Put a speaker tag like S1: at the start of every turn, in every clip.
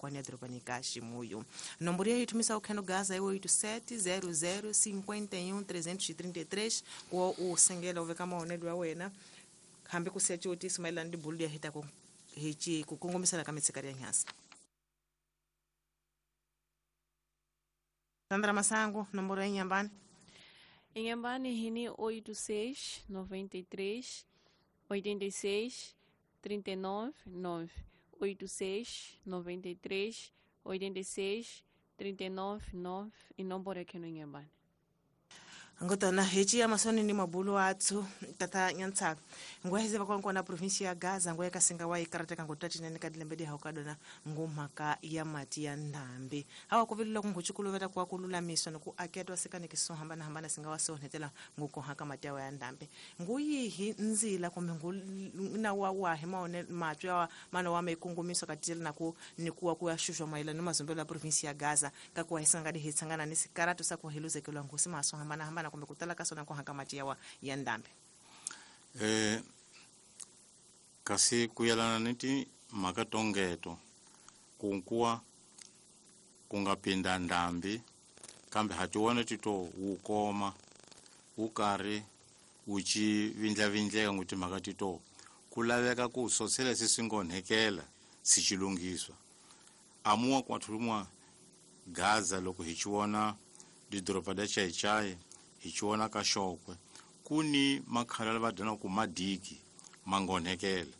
S1: kwani ya dorobani ka Ximuyo. Nomboro ya ithumisa ukheno Gaza é 87 00 51 333 ku u sengela u veka mahonelo ya wena hambi ku siya xivutiso mayelana ni bulu ya hita ku hi ci ku kongomisela ka mitshikari ya nyasi. Sandra Masango, nomboro ya Inhambane.
S2: Inhambane hini 86 93 86 39 9 86 93 86 39 9 i nomboro ya kheno Inhambane.
S1: Ngotana hechi ya masoni ni mabulu atsu tata nyantsaka ngwaheze vakonkona na provinsia ya Gaza ngwe kasinga wa ikarateka ngotati nene kadilembedi haukadona ngumhaka ya mati ya ndhambi hawa kuvilila kunguchukuluveta kwa kululamiswa noku aketwa sekani kiso hambana hambana singa wa sonhetela ngukohaka mati ya ndhambi nguyihi nzila kumbe na wa wahi maone matwi ya mana wa mekungumiso katile naku nikuwa kuyashushwa maila ni mazombelo ya provinsia ya Gaza kakuwa hisangadi hitsangana ni sikaratu sa kuhiluzekelwa ngusi maso hambana hambana kumbe kutala kasona kuhaka mati ya ndhambi.
S3: Kasi kuyelana ni timhaka tongeto kunkuwa kungapinda ndhambi kambe hatiwona tito wu koma wu karhi wu ci vindlavindleka ngu timhaka tito ku laveka ku sosela se swi ngonhekela si ci lunghiswa amuwa kwathulumwa Gaza loko hi ci vona didoroba da Chaichai hi ci vona ka Xokwe ku ni makhala va dyona ku madiki mangonhekela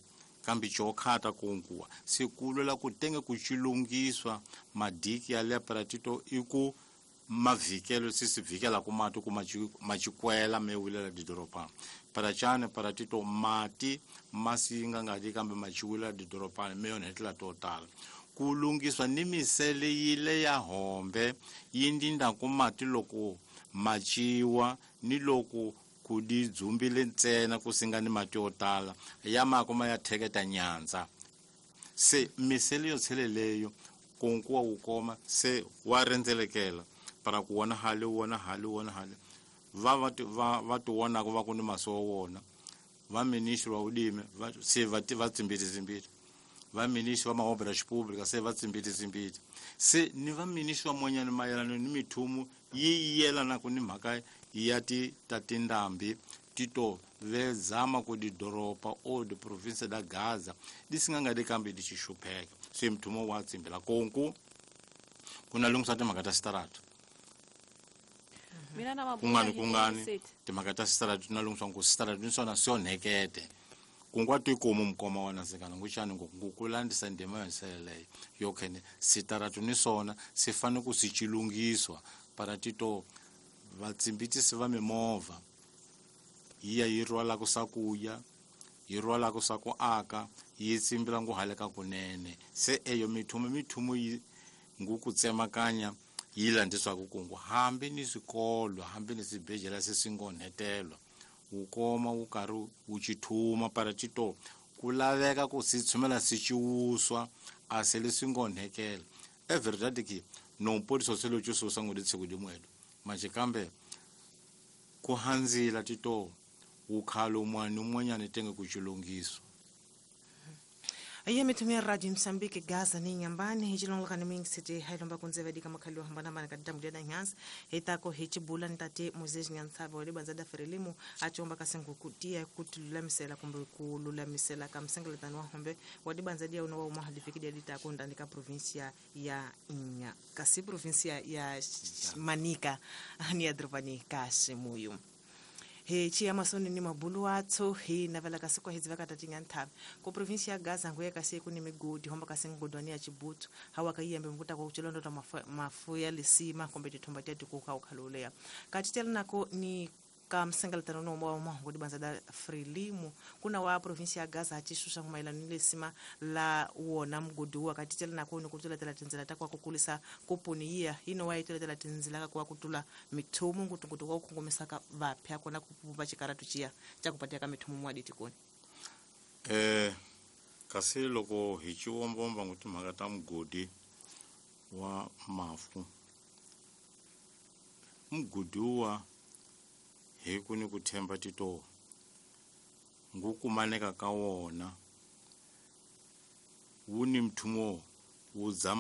S3: kambe chokhata kunkuwa sikulwela ku tenge ku chilungiswa madiki ya leparatito iku mavikelo sisivikela ku mati ku machikwela mewilela didoropa parachane paratito mati masinga ngadi kambe machiwila didoropa meyonhetela totala ku lungiswa ni misele yile ya hombe yindinda ku mati loko machiwa ni loko ku di dzumbile ntsena ku singa ni mati yo tala ya makoma ya theketa nyandza se misele yo tsheleleyo kunkuwa wu koma se wa rhendzelekela para ku wona hale wona hale wona hale va ti vonaka va ku ni maso wona va ministri wa ulimi se va tsimbiti va ministri va maobra xipublika se va tsimbiti se ni va ministri wa monyani mayelana ni mithumu yi yelanaka ni mhaka ya ti ta tindhambi tito vezama ku didoropa o diprovinsia da Gaza di singa di kambe di xixupheka se mthumo wa tsimbela konku kuna lunghisa timhaka ta sitarata kungani timhaka ta sitarata na lunghisa ku sitarata ni swona swi onhekete kungwa tikomu mukoma wa nasekana nguxani ngukulandisa ndima yonseleleyo yo khene sitarata ni swona swi fanele ku swi chilungiswa para tito vatsimbitisi va mimovha yi ya yi rhwalaka swakuya yi rhwalaka swa ku aka yi tsimbila ngu haleka kunene se eyo mithumo yi ngu ku tsemakanya yi landziswaka kungu hambi ni swikolo hambi ni swibedhlele se swi ngonhetelwa wu koma wu karhi wu chithuma para tito ku laveka ku swi tshumela swi ciwuswa a se leswi ngonhekela e verdade ki nompoliso se lo cususa ngu litshiku dimwedo manje kambe ku handzila tito ukhalo mwana umwanyana tenge kuchilungiswa.
S1: Iye mitumia Radio Msambiki Gaza ni Inhambane hichilongoka ni mingi sete hailomba kunzeva dika makhali wa hambana hambana kadita mudeda nyansi hitako hichibula ntate Moses Nyantsava wale banzada Frelimu achomba kasengu kutia kutululamisela kumbe kululamisela kamsengeletano wa hombe wale banzadia unowa umahalifikidi adita ndani provincia ya Inya kasi provincia ya Manica ni Adrovani Kashimuyu. He chia masoni ni mabulu atso he navela kasi kwa hizi vaka tatinga ntabi ko provincia ya Gaza nguye kasi kuni migodi homba kasi ngodwani ya Chibutu hawa kayembe mkuta kwa uchelondo ta mafuya lisima kombe titomba tatu kuka ukalolea katitela nako ni kamsengeletano no mwa ngodi banzada Frelimu kuna wa provincia ya Gaza achishusha kumailano lesima la wona mgodi wa katitela nako ni kutula tela tinzela takwa kukulisa kupuni iya ino wa itula tela tinzela kwa kutula mithumu ngutungutu kwa kukongomesa ka vapya kona kupumba chikaratu chia chakupatia ka mithumu mwa ditikoni
S3: kasi loko hi chiwombomba nguti mhaka ta mugodi wa mafu mugodi wa hi ku ni ku themba tito ngukumaneka ka wona wu ni mthumo wu dzama